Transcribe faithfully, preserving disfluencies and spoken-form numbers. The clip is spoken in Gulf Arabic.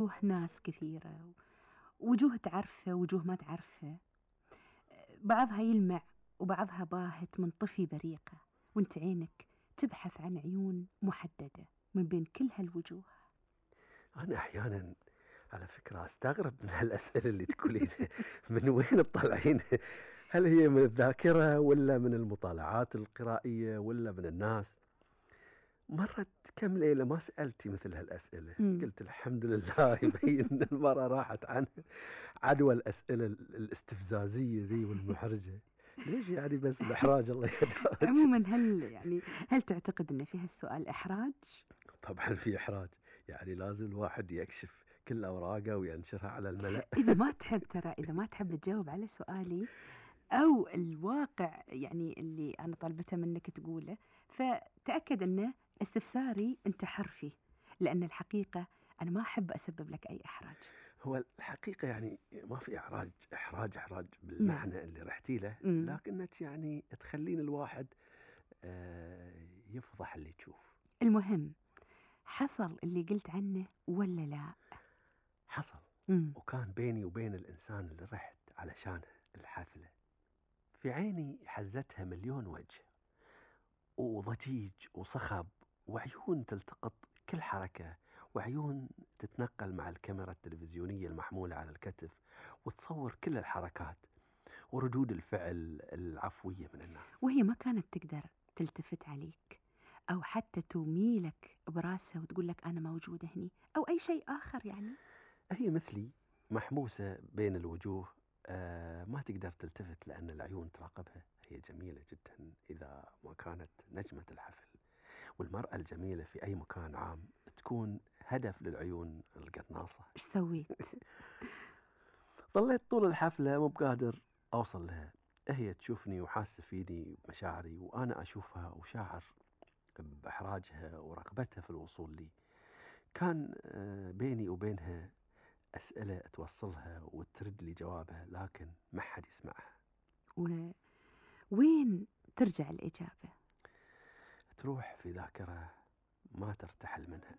وجوه ناس كثيرة، وجوه تعرفه وجوه ما تعرفه، بعضها يلمع وبعضها باهت منطفي بريقة، وانت عينك تبحث عن عيون محددة من بين كل هالوجوه. أنا أحيانا على فكرة أستغرب من هالأسئلة اللي تقولينها. من وين تطلعين؟ هل هي من الذاكرة ولا من المطالعات القرائية ولا من الناس؟ مرت كم ليلة ما سألتي مثل هالأسئلة. مم. قلت الحمد لله يبين أن المرة راحت عن عدوى الأسئلة الاستفزازية ذي والمحرجة. ليش يعني بس الإحراج الله يهداك. عموما هل يعني هل تعتقد أن في هالسؤال إحراج؟ طبعا في إحراج، يعني لازم الواحد يكشف كل أوراقه وينشرها على الملأ. إذا ما تحب ترى إذا ما تحب تجاوب على سؤالي أو الواقع يعني اللي أنا طلبته منك تقوله، فتأكد أنه استفساري أنت حر فيه، لأن الحقيقة أنا ما أحب أسبب لك أي إحراج. هو الحقيقة يعني ما في إحراج إحراج إحراج نعم. بالمعنى اللي رحتي له، مم. لكنك يعني تخلين الواحد آه، يفضح اللي تشوف. المهم حصل اللي قلت عنه ولا لا؟ حصل. مم. وكان بيني وبين الإنسان اللي رحت علشانه الحفلة في عيني حزتها مليون وجه، وضجيج وصخب وعيون تلتقط كل حركة، وعيون تتنقل مع الكاميرا التلفزيونية المحمولة على الكتف وتصور كل الحركات وردود الفعل العفوية من الناس. وهي ما كانت تقدر تلتفت عليك أو حتى تميلك براسها وتقول لك أنا موجودة هني أو أي شيء آخر يعني؟ هي مثلي محموسة بين الوجوه، آه ما تقدر تلتفت لأن العيون تراقبها. هي جميلة جدا إذا ما كانت نجمة الحفل، والمرأة الجميلة في أي مكان عام تكون هدف للعيون القناصة. إيش سويت؟ ظليت طول الحفلة مو بقادر أوصل لها. هي تشوفني وحاسة فيني بمشاعري، وأنا أشوفها وشاعر بإحراجها ورغبتها في الوصول لي. كان آه، بيني وبينها أسئلة توصلها وترد لي جوابها، لكن ما حد يسمعها. ووين ترجع الإجابة؟ تروح في ذاكرة ما ترتحل منها أبدا.